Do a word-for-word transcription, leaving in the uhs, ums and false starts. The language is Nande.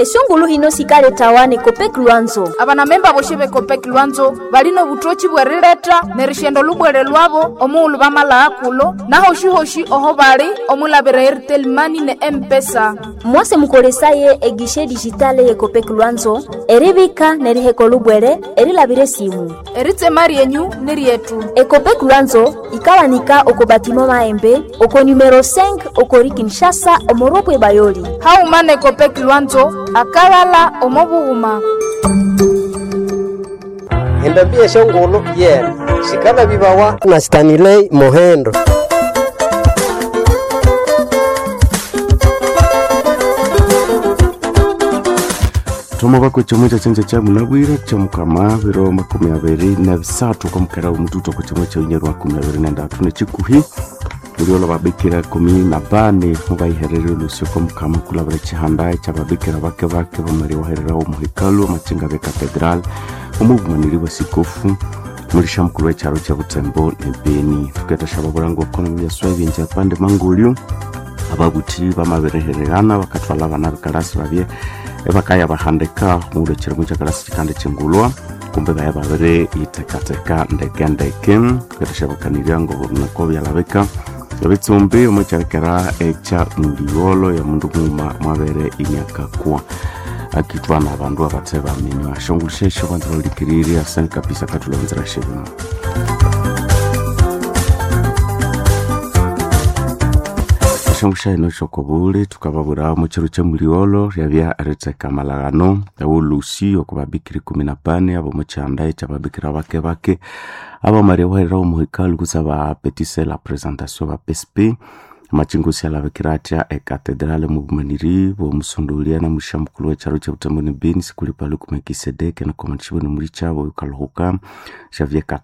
Esongulu hino sikaletawa ne Copec Lwanzo. Abanamemba boshe be Copec Lwanzo balina obutoki bw'erileta nerishenda olubwere lwabo omughulhu bamalagha kulo nahoshi-hoshi oho bali omwilabira Airtel Money ne M-Pesa. Mwase mukolesaye egishe digitale ye Copec Lwanzo eribika neriheka olubwere erilabira esimu. Eritsema ryenyu ni ryetu. Ecopec Lwanzo ikawanika oko batimo maembe oko numero cinq okori Kinshasa omoropwe Bayoli. Hauma ne Copec Lwanzo akalala omo bughuma. Endambi eshongolo yena sikala bibawa na Stanley Mohendo. Thoma bako chomwe cha cha munabwira cha mukama biro makumi abiri na bisathu kwa mukera omututu kwa chomwe cha unyeru makumi abiri na ndatu nechikuhi muliola babikira kumi na bane mubaiherere olusyo kwa mukama kulabira chihanda cha babikira bake bake bamari waherera omuhekalu amachinga be cathedral omubumaniri bwa sikofu mulisha mukulu w'ekyaro kya Butembo ne Beni tuketa shababulango okono byaswa ebyenja pande mangulyu ababuthi bamabirehererana bakathwala abana bekalasi babye ebakaya bahandika muwulhu ekirimo kyakalasi kikandi kyingulwa kumbe baya babiri yitekateka ndeke ndeke tuketha ngo nako byalabika ebitsumbi omwekyarekera ekya muliwolo ya mundu muuma mwabere inyakakwa akithwa na abandu abathe baminywa shongulishesho banza baulikiriri asante kabisa katulonzera shebino. Shongusha ino shokobule tukababura muchiro cha muliolo ryabya eritheka malagano ewolusi okubabikira ikumi na bane abo muchanda ekyababikira bake bake abamari waherera omuhekalu kutsa bapetise la presentation ba P S P machingusi alabikira atya ekatedrale mubumaniri bwomusondolia na musha mukulu w'ekyaro kya Butembo ne Beni sikuli paluku Melkisedeke nakomanishibwe nomuli kyabo yukaluhuka Xavier.